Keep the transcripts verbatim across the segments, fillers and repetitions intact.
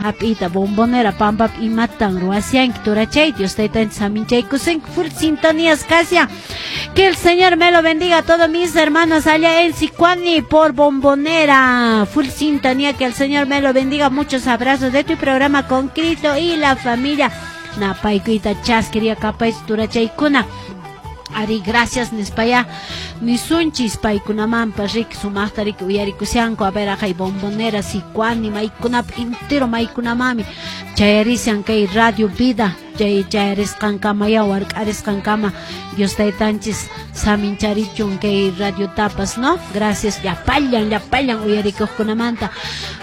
Hap'ita Bombonera pampapi imatan ruwasyanki turachay? Dios taytanchis saminchaykusunki, full sintonías kasyan. Que el Señor me lo bendiga a todos mis hermanos allá en Sicuani por Bombonera. Full sintonía, que el Señor me lo bendiga. Muchos abrazos de tu programa con Cristo y la familia. Napaykuyta chaskiria kapay turachaykuna. Ari, gracias nispaya nisunchis paykunamanpas, riki, sumaqta riki uyarikushanku. A ver, aqhay Bombonera, Sicuani, maykunap entero maykunamami chayarishan kay Radio Vida. Chay chayarisqankamaya wark'arisqankama Dios taytanchis samincharichun kay radio tapas, no? Gracias llapallan llapallan uyarikuqkunamanta.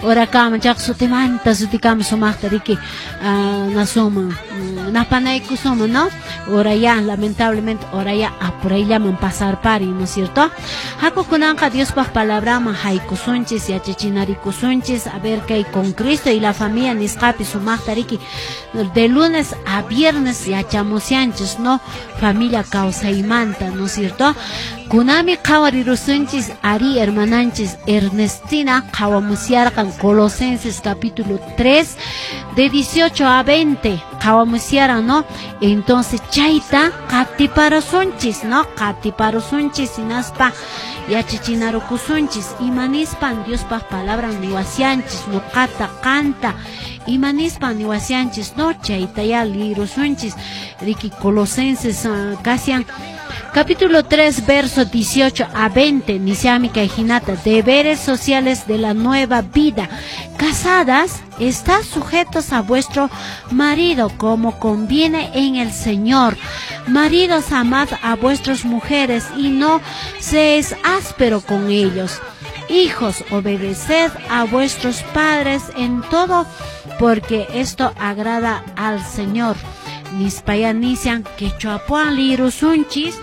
Orakama chaq sutimanta sutikama sumaqta riki uh, nasuman napanaykusuman, no? Ora ya, lamentablemente, ora ya apurayllaman pasarpari, ¿no es cierto? Hakukunanqa Diospaq palabraman haykusunchis, yachachinarikusunchis. A ver, kay con Cristo y la familia nisqapi sumaqta riki de lunes a viernes yachamusyanchis, no? Familia kawsaymanta, ¿no es cierto? Kunami qhawarirusunchis, ari, hermananchis Ernestina qhawamusyarqan Colosenses capítulo tres de dieciocho a veinte qhawamusyaran, ¿no? Entonces chayta qatiparusunchis, ¿no? Qatiparusunchis hinaspa yachachinarukusunchis imanispan Diospaq palabran niwasyanchis nuqata qanta imanispan niwasyanchis, no? Chayta ya lirusunchis riki. Colosenses uh, kasyan capítulo tres verso dieciocho a veinte, nishami kay hinata: deberes sociales de la nueva vida. Casadas, estad sujetos a vuestro marido como conviene en el Señor. Maridos, amad a vuestras mujeres y no seáis áspero con ellos. Hijos, obedeced a vuestros padres en todo, porque esto agrada al Señor. Nispaya nishan quechuapuan lirusunchis.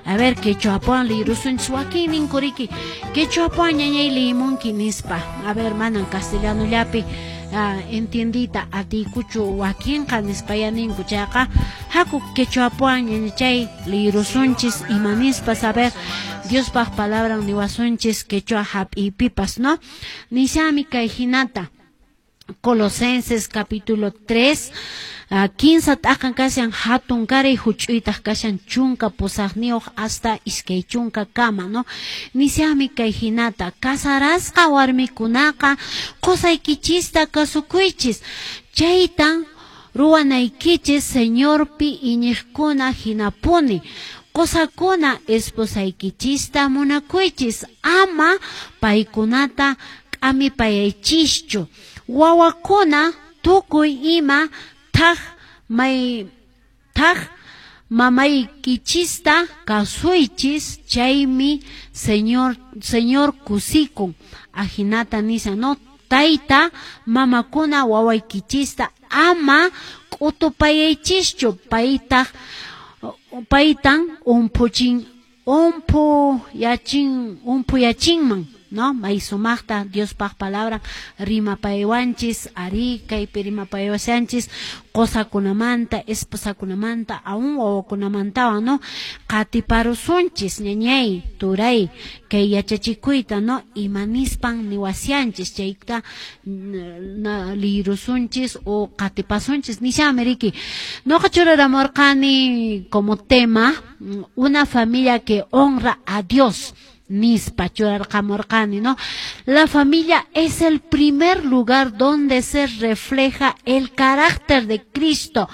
A ver, quechuapuan lirusunchis, wakin ninkuriki quechuapuan ñañay limunki nispa. A ver, manan castellano llapi uh, entiendita atikuchu wakinqa nispaya ninku. Chayqa haku quechuapuan ñañachay lirusunchis imanispa, saber Diospaq palabran niwasunchis quechua hap'ipipas, no? Nishami kay hinata: Colosenses capítulo tres, uh, kinsa t'aqan kashan hatun karay, huch'uytaq kashan chunka pusaqniyuq hasta iskay chunka kama, no? Nishami kay hinata: casarasqa warmikunaqa qusaykichista kasukuychis, chaytan ruwanaykichis Señorpi iñiqkuna hinapuni. Qusakuna, esposaykichista munakuychis, ama paykunata k'amipayaychischu. Wawakuna, tukuy ima thaq may thaq mamaykichista kasuychis, chaymi Señor Señor kusikun. Ajinata nishan, no? Tayta mamakuna, wawaykichista ama k'utupayaychischu, paytaq paytan umphuchin umphuyachin umphuyachinman, no? May sumaqta Diospaq palabra rimapaywanchis, ari, kaypi rimapaywasanchis qosakunamanta, esposakunamanta, aún wawakunamantawan, no? Qatiparusunchis, ñañay, turay, kay yachachikuyta, no? Imanispan niwasyanchis chayta na lirusunchis o qatipasunchis. Nishami riki noqa churaramurqani como tema "Una familia que honra a Dios" nispa churarqamurqani, ¿no? La familia es el primer lugar donde se refleja el carácter de Cristo.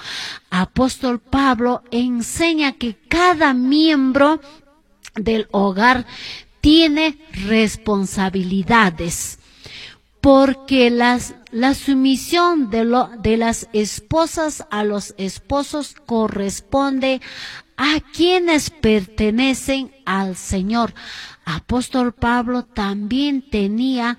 Apóstol Pablo enseña que cada miembro del hogar tiene responsabilidades, porque las, la sumisión de, lo, de las esposas a los esposos corresponde a quienes pertenecen al Señor. Apóstol Pablo también tenía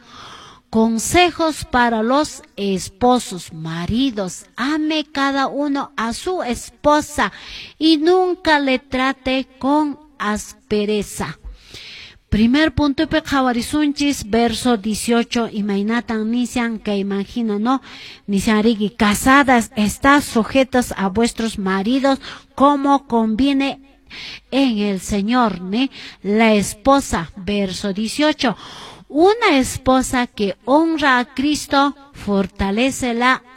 consejos para los esposos. Maridos, ame cada uno a su esposa y nunca le trate con aspereza. Primer punto qhawarisunchis verso dieciocho imaynatan nishan que imagina, no? Nishan riki: casadas, estad sujetas a vuestros maridos como conviene en el Señor, ¿ne? La esposa, verso dieciocho. Una esposa que honra a Cristo fortalece la